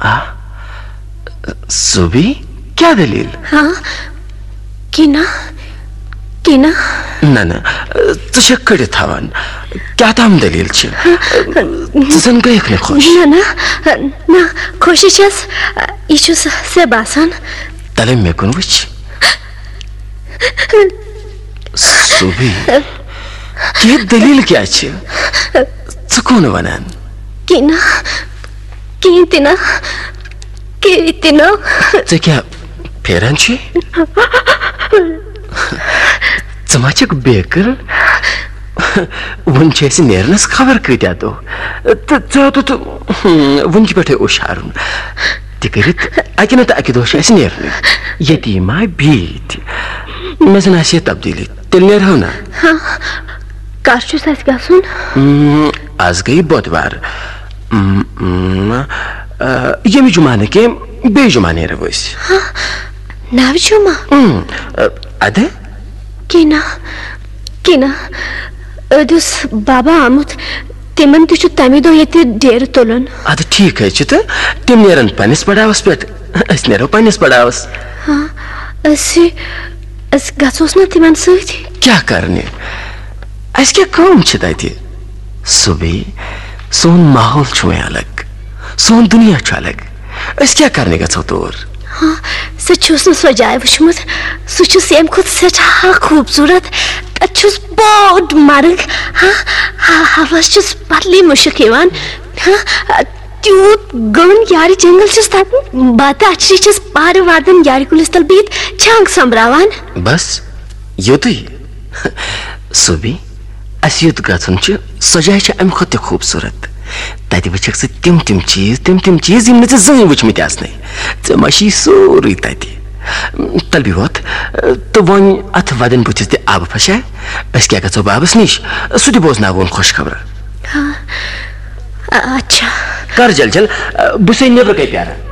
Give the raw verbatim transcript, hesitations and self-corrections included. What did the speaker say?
آ، زوبی، کیٛاہ دٔلیٖل؟ ہاں، کینا، کینا۔ نہ، نہ، ژٕ چھَکھ کٔڑِتھ تھاوان۔ کیٛاہ تام دٔلیٖل چھِ؟ ژٕ زَن گٔیَکھ نہٕ خۄش۔ نہ، نہ، نہ، خۄشی چھَس، یہِ چھُس ژےٚ باسان۔ تَلے مےٚ کُن وٕچھ۔ زوبی، کیٛاہ دٔلیٖل کیٛاہ چھِ؟ ژٕ کون وَنان؟ کینا، کِہیٖنۍ تہِ نہٕ، کِہیٖنۍ تہِ نہٕ۔ ژٕ کیٛاہ پھیران چھِ؟ ژٕ ما چھَکھ بیکٕل؟ وُنہِ چھِ اَسہِ نیرنَس خبر کۭتیٛاہ دۄہ۔ تہٕ ژٕ تہٕ، تہٕ، ہم، وُنہِ چھِ پٮ۪ٹھَے اوٚش ہارُن۔ تہِ کٔرِتھ اَکہِ نَتہٕ اَکہِ دۄہ چھِ اَسہِ نیرنٕے۔ ییٚتی ما بیٚیہِ تہِ۔ مےٚ زَن آسہِ ہے تبدیٖلی۔ تیٚلہِ نیرہو نا؟ ہاں، کر چھُس اَسہِ گژھُن؟ اۭں، آز گٔیہِ بۄدوار۔ اۭں، اۭں، آ، ییٚمہِ جمعہ نہٕ کینٛہہ، بیٚیہِ جمعہ نیرو أسۍ۔ ہاں، نَو جمعہ؟ اۭں، آ، اَدٕ؟ کینا، کینا، أدۍ اوس بابا آمُت، تِمن تہِ چھُ تَمی دۄہ ییٚتہِ ڈیرٕ تُلُن۔ اَدٕ ٹھیٖک حظ چھُ تہٕ، تِم نیرن پننِس پڑاوس پٮ۪ٹھ، أسۍ نیرو پننِس پڑاوس۔ ہاں، أسۍ، أسۍ گژھوس نا تِمن سۭتۍ؟ کیٛاہ کرنہِ؟ اَسہِ کیٛاہ کٲم چھِ تَتہِ؟ صُبحی سون ماحول چھُ وۄنۍ الگ، سون دُنیا چھُ الگ۔ أسۍ کیٛاہ کرنہِ گژھو تور؟ ہاں، سُہ چھُس نہٕ سۄ جاے وٕچھمُت۔ سُہ چھُ ییٚمہِ کھۄتہٕ سٮ۪ٹھاہ خوٗبصوٗرت۔ تَتہِ چھُس بوٚڑ مرگ۔ ہاں، ہا-، ہوس چھُس بدلٕے مُشُک یِوان۔ ہاں، تیوٗت گوٚن یارِ جنگل چھُس تَتہِ۔ بہٕ تہٕ اچھری چھَس پارٕ وردن یارِ کُلِس تل بِہِتھ چھانٛگ سۄمبراوان۔ بس، یُتُے؟ صُبحی، اَسہِ یوٚت گژھُن چھُ، سۄ جاے چھِ اَمہِ کھۄتہٕ تہِ خوٗبصوٗرت۔ تَتہِ وٕچھَکھ ژٕ تِم تِم چیٖز، تِم تِم چیٖز، یِم نہٕ ژےٚ زٕہٕنۍ وٕچھمٕتۍ آسنَے۔ ژےٚ ما چھُے سورُے تَتہِ۔ تَلہٕ بیٚہہ وۄتھ، تہٕ وۄنۍ اَتھ وَدَن بٕتھِس تہِ آبہٕ پھَشا۔ أسۍ کیٛاہ گژھو بابَس نِش؟ سُہ تہِ بوزناوون خۄش خبرا۔ ہاں، اچھا۔ کر جل جل، بہٕ چھُسَے نیٚبرٕ کَنہِ پیٛاران۔